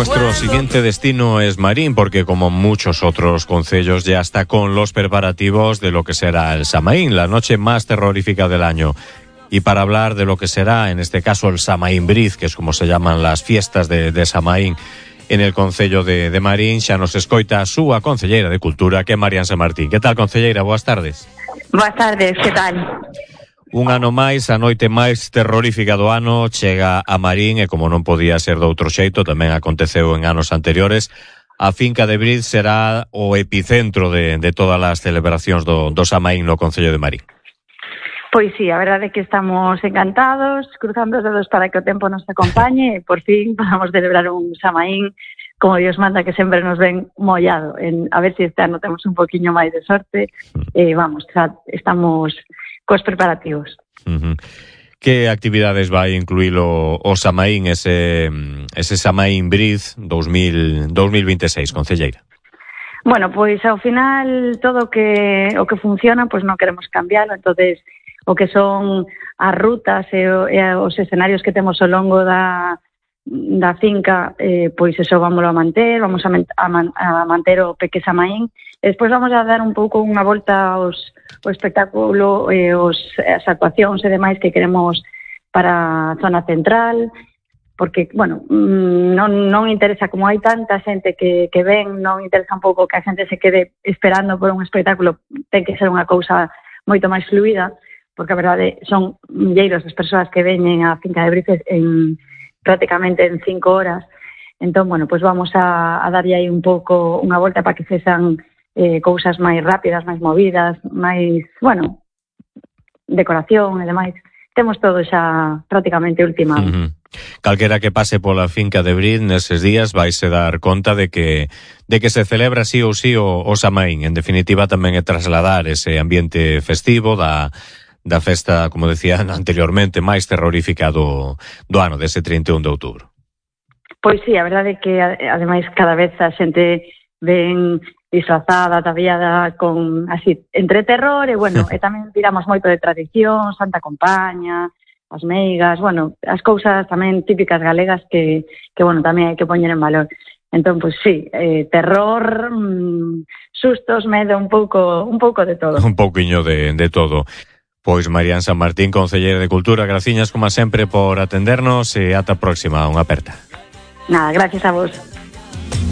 Nuestro siguiente destino es Marín, porque como muchos otros concellos ya está con los preparativos de lo que será el Samaín, la noche más terrorífica del año. Y para hablar de lo que será, en este caso, el Samaín Briz, que es como se llaman las fiestas de Samaín en el concello de Marín, xa nos escoita a súa concelleira de Cultura, que é Marian Samartín. Que tal, concelleira? Boas tardes. Boas tardes, que tal? Un ano máis, a noite máis terrorífica do ano chega a Marín e como non podía ser de outro xeito, tamén aconteceu en anos anteriores, a finca de Briz será o epicentro de todas as celebracións do Samaín no concello de Marín. Pois sí, a verdade é que estamos encantados, cruzando os dedos para que o tempo nos acompañe e por fin podamos celebrar un Samaín como Dios manda, que sempre nos ven mollado. A ver se este ano temos un poquinho máis de sorte. Vamos, xa estamos cos preparativos. Que actividades vai incluir o Samaín, ese Samaín Briz 2026, concelleira? Bueno, pois ao final todo o que funciona, pois non queremos cambiarlo, entonces o que son as rutas e os escenarios que temos ao longo da finca, pois eso vamos a manter, vamos a manter o Peque Samaín. E despois vamos a dar un pouco unha volta ao espectáculo e as actuacións e demais que queremos para a zona central, porque, bueno, non interesa, como hai tanta xente que ven, non interesa un pouco que a xente se quede esperando por un espectáculo, ten que ser unha cousa moito máis fluida, porque a verdade son milleiros as persoas que veñen á finca de Briz prácticamente en 5 horas. Entón, bueno, pois vamos a darlle aí un pouco unha volta para que sexan cousas máis rápidas, máis movidas, máis, bueno, decoración e demais. Temos todo xa prácticamente ultimado. Calquera que pase pola finca de Briz neses días vaise dar conta de que se celebra sí ou sí o Samaín. En definitiva, tamén é trasladar ese ambiente festivo da festa, como decía anteriormente, máis terrorífica do ano, dese 31 de outubro. Pois sí, a verdade é que ademais cada vez a xente ven disfrazada, ataviada con así entre terror e bueno, e tamén tiramos moito de tradición, Santa Compaña, as meigas, bueno, as cousas tamén típicas galegas que bueno, tamén hai que poñer en valor. Entón, pois sí, terror, sustos, medo, un pouco de todo. Un pouquiño de todo. Pois Marian Samartín, concelleira de Cultura, graciñas como sempre por atendernos e ata a próxima, unha aperta. Nada, gracias a vos.